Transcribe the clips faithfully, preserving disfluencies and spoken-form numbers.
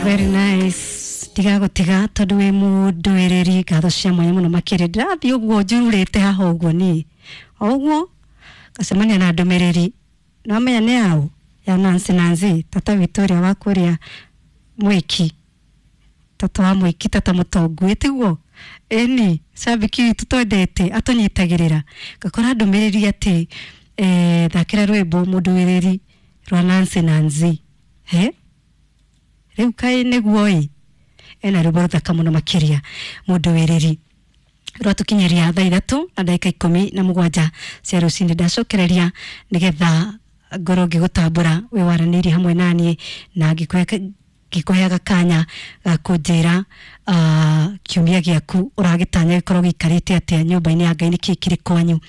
Very nice. Ndigagũtiga tondũ wĩ mũndũĩrĩri, ngatho cia mwanya mũno makĩria. Ndĩrathiĩ ũguo njururĩte haha ũguo niĩ o ũguo ngacemania na ndũmĩrĩri, nĩwamenya nĩ yaũ? Ya Nancy. Nancy tata witũ ũrĩa wa kũrĩa Mwĩki, tata wa Mwĩki, tata mũtongu, ĩtiguo ĩni cambĩki witũ twendete atũnyitagĩrĩra. Ngakora ndũmĩrĩri atĩ eh, thakĩra rwĩmbo mũndũĩrĩri rwa Nancy. Nancy he rĩu kaĩ nĩguo ĩ ena rwĩmbo rũthaka mũno makĩria mũndũĩrĩri rwatũkinyeria thaa ithatũ na ndagĩka ikũmi na mũgwanja cia rũcinĩ. Ndacokereria nĩgetha ngorwo ngĩgũtambũra wĩ waranĩirie hamwe naniĩ na ngĩkũhe ngĩkũheaga kanya ga kũnjĩra uh, kiumia gĩaku ũragĩtanya gĩkorwo gĩikarĩte atĩa nyũmba-inĩ ya Ngai, nĩkĩĩ kĩrĩ kwanyu,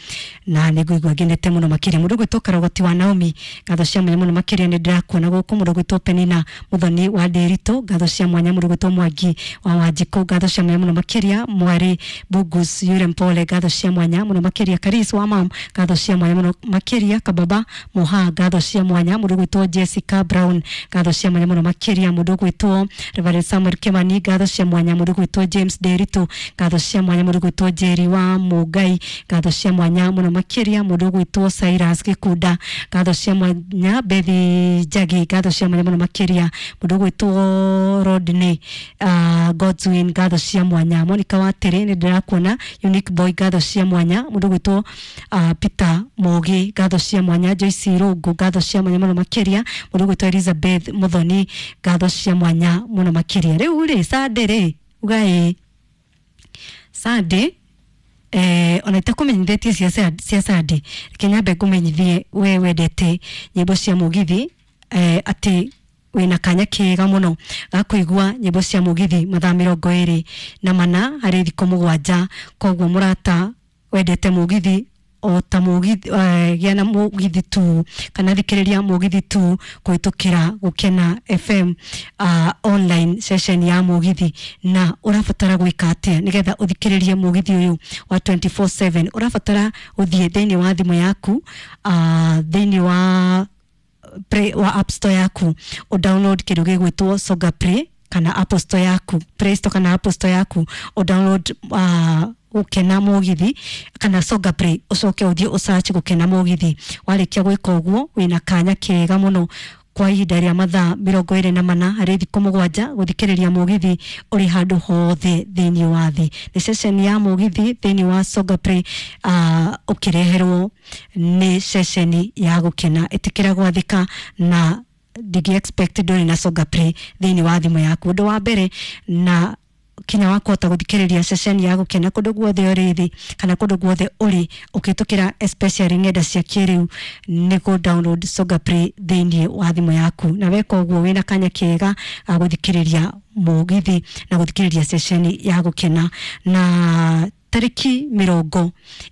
na nĩ ngũigua ngenete mũno makĩria. Mũndũ ũgwĩtwo Karogoti wa Naomi, ngatho cia mwanya mũno makĩria, nĩ ndĩrakuona gũkũ. Mũndũ ũgwĩtwo Penina Mũthoni wa Ndĩritũ, ngatho cia mwanya. Mũndũ ũgwĩtwo Mwangi wa Wanjikũ, ngatho cia mwanya mũno makĩria. Mwarĩ Bugus Yure Mpole, ngatho cia mwanya mũno makĩria. Karis wa mam, ngatho cia mwanya mũno makĩria. Kababa Moha, ngatho cia mwanya. Mũndũ ũgwĩtwo Jessica Brown, ngatho cia mwanya mũno makĩria. Mũndũ ũgwĩtwo Reverend Samuel Kimani, ngatho cia mwanya. Mũndũ ũgwĩtwo James Nderitu, ngatho cia mwanya. Mũndũ ũgwĩtwo Jerry wa Mũngai, ngatho cia mwanya mũno makĩria. Mũndũ ũgwĩtwo Cyrus Gĩkunda, ngatho cia mwanya. Bethi Njagi, ngatho cia mwanya mũno makĩria. Mũndũ ũgwĩtwo Rodney uh, Godswin, ngatho cia mwanya. Monica Watere, nĩ ndĩrakuona. Unique Boy, ngatho cia mwanya. Mũndũ ũgwĩtwo uh, Peter Mogi, ngatho cia mwanya. Joyce Irũngũ, ngatho cia mwanya mũno makĩria. Mũndũ ũgwĩtwo Elizabeth Muthoni, ngatho cia mwanya mũno makĩria. Rĩu rĩ Sunday rĩ uga ĩ Sunday eh, ona itakũmenyithĩtie cia cia Sunday, reke nyambe ngũmenyithie we wendete nyĩmbo cia mũgithi eh, atĩ wĩna kanya kega mũno ga kũigua nyĩmbo cia mũgithi mathaa mĩrongo ĩrĩ na mana harĩ thikũ mũgwanja. Koguo mũrata wendete mũgithi o ta mũgithi eh, gĩa na mũgithi tu kana thikĩrĩria mũgithi tu kũhĩtũkĩra Gũkena F M uh, online session ya mũgithi. Na ũrabatara gwĩka atĩa nĩgetha ũthikĩrĩrie mũgithi ũyũ wa twenty-four seven? Ũrabatara ũthiĩ thĩinĩ wa thimũ yaku, uh, thĩinĩ wa Play, wa App Store yaku, ũdownload kĩndũ gĩgwĩtwo Songa Play, kana Apple Store yaku, Play Store kana Apple Store yaku, ũdownload uh, Gũkena Mũgithi kana Songa Play, ũcoke ũthiĩ ũsearch Gũkena Mũgithi. Warĩkia gwĩka ũguo, wĩna kanya kega mũno kwa ihinda rĩa mathaa mĩrongo ĩrĩ na mana harĩ thikũ mũgwanja gũthikĩrĩria mũgithi ũrĩ handũ hothe thĩinĩ wa thĩ. Nĩ ceceni ya mũgithi thĩinĩ wa Songa Play, uh, ũkĩreherwo nĩ ceceni ya Gũkena. Ĩtĩkĩra gwathĩka na ndingĩ expect ndũrĩ na Songa Play thĩinĩ wa thimũ yaku. Ũndũ wa mbere na kinya wa kũhota gũthikĩrĩria ceceni ya Gũkena kũndũ guothe ũrĩ thĩ kana kũndũ guothe ũrĩ ũkĩtũkĩra especially ng'enda cia kĩrĩu nĩ kũ download Songa Play thĩinĩ wa thimũ yaku, na weka ũguo wĩna kanya kega ga gũthikĩrĩria mũgithi na gũthikĩrĩria ceceni ya Gũkena. Na tarĩki mĩrongo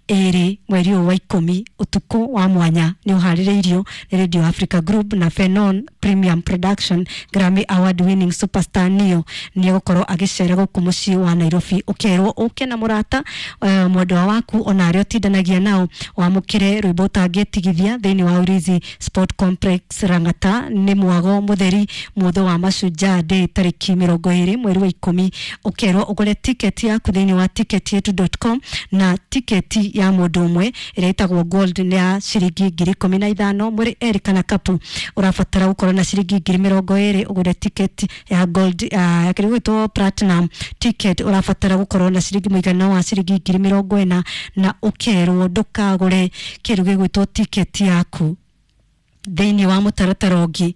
ĩrĩ mweri ũyũ wa ikũmi, ũtukũ wa mwanya nĩ ũharĩrĩirio nĩ Radio Africa Group na Fenon Premium Production. Grammy Award winning superstar Neo nĩ egũkorwo agĩcera gũkũ mũciĩ wa Nairobi. Ũkerwo ũke na mũrata, uh, mwendwa waku, ona arĩa ũtindanagia nao, wamũkĩre rwĩmbo ũtangĩtigithia thĩinĩ wa Ulinzi Sport Complex Lang'ata. Nĩ mwago mũtheri mũthĩ wa Mashujaa Day tarĩki mĩrongo ĩrĩ mweri wa ikũmi. Ũkerwo ũgũre tiketi yaku thĩinĩ wa ticketyetu dot com, na tiketi ya mũndũ ũmwe ĩrĩa ĩtagwo gold nĩ ya ciringi ngiri ikũmi na ithano. Mũrĩ erĩ kana kapu, ũrabatara gũkorwo na ciringi ngiri mĩrongo ĩrĩ ũgũre tiketi ya gold. uh, kĩrĩa gĩgwĩtwo platinum ticket, ũrabatara gũkorwo na ciringi mũigana wa ciringi ngiri mĩrongo ĩna. Na ũkerwo ndũkagũre kĩndũ gĩgwĩtwo tiketi yaku thĩinĩ wa mũtaratara ũngĩ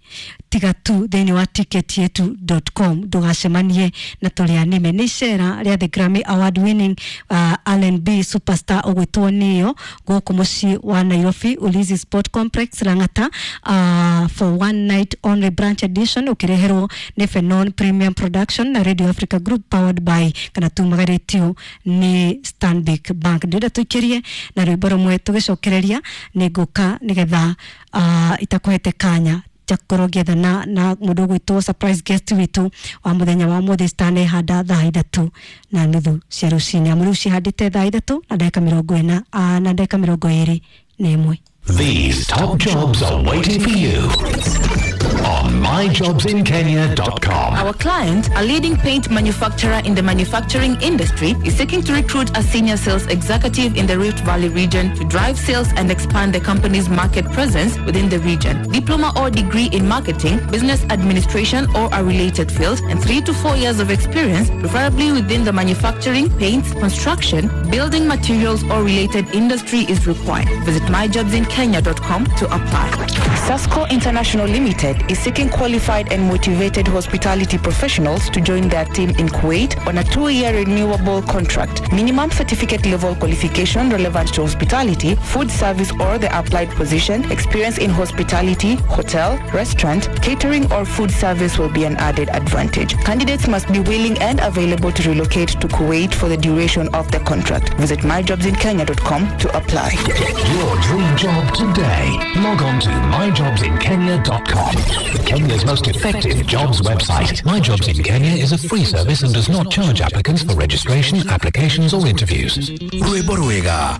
tiga tu thĩinĩ wa ticketyetu dot com, ndũgacemanie na tũrĩa nĩme. Nĩ icera rĩa the Grammy Award winning uh, R and B superstar ũgwĩtwo Neo gũkũ mũciĩ wa Nairobi, Ulinzi Sport Complex Lang'ata, uh, for one night only branch edition, ũkĩreherwo nĩ Fenon Premium Production na Radio Africa Group, powered by kana tumagarĩtio nĩ Stanbic Bank. Ndĩrenda tũikĩrie na rwĩmbo rũmwe, tũgĩcokereria nĩ ngũka nĩgetha uh, itakũhete kanya njakorwo ngĩethana na mũndũ ũgwĩtwo surprise guest witũ wa mũthenya wa mũthĩ citanehanda thaa ithatũ na nuthu cia rũcinĩ, amu rĩu cihandĩte thaa ithatũ na ndagĩka mĩrongo ĩna ah, na ndagĩka mĩrongo ĩrĩ na ĩmwe. These top jobs are waiting for you. On my jobs in kenya dot com. Our client, a leading paint manufacturer in the manufacturing industry, is seeking to recruit a senior sales executive in the Rift Valley region to drive sales and expand the company's market presence within the region. Diploma or degree in marketing, business administration or a related field, and three to four years of experience, preferably within the manufacturing, paints, construction, building materials or related industry is required. Visit my jobs in kenya dot com to apply. Sasco International Limited is seeking qualified and motivated hospitality professionals to join their team in Kuwait on a two-year renewable contract. Minimum certificate level qualification relevant to hospitality, food service or the applied position, experience in hospitality, hotel, restaurant, catering or food service will be an added advantage. Candidates must be willing and available to relocate to Kuwait for the duration of the contract. Visit my jobs in kenya dot com to apply. Get your dream job today. Log on to my jobs in kenya dot com. Kenya's most effective jobs website. My Jobs in Kenya is a free service and does not charge applicants for registration, applications or interviews. Rwĩmbo rwega.